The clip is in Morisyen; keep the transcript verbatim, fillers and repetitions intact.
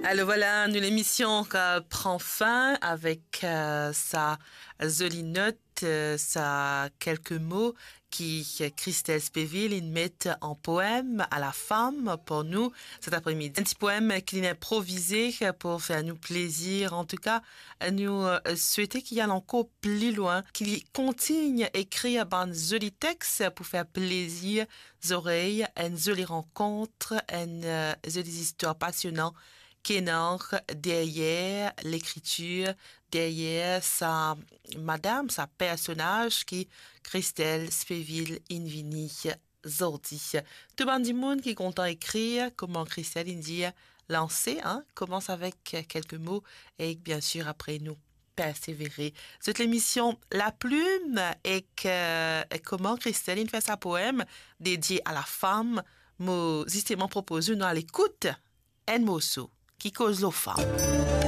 Alors voilà, nou lemision ki pran fin avek, euh, sa zoli not, euh, sa kelke mo ki Christelle Spéville inn met an poem a la fam pou nou set apremidi. Enn ti poem ki linn inprovize pou fer nou plezir. Antouka, nou, euh, swete ki al ankor pli lwin, ki li kontign ekrir bann zoli text pou fer plezir zorey, enn zoli rankont, enn, euh, zoli zistwar pasionan ki ena deryer lekritir, deryer sa madam, sa personaz ki Christelle Spéville inn vini zordi. Tou bann dimoun ki kontan ekrir, kouma Christelle inn dir, lanse, hein, koumans avek kelke mo e biensir apre nou persevere. Zot lemision La Plume ek, euh, kouma Christelle inn fer sa poem dedie a la fam, mo zisteman propoz nou al ekout enn morso ki koz lor fam.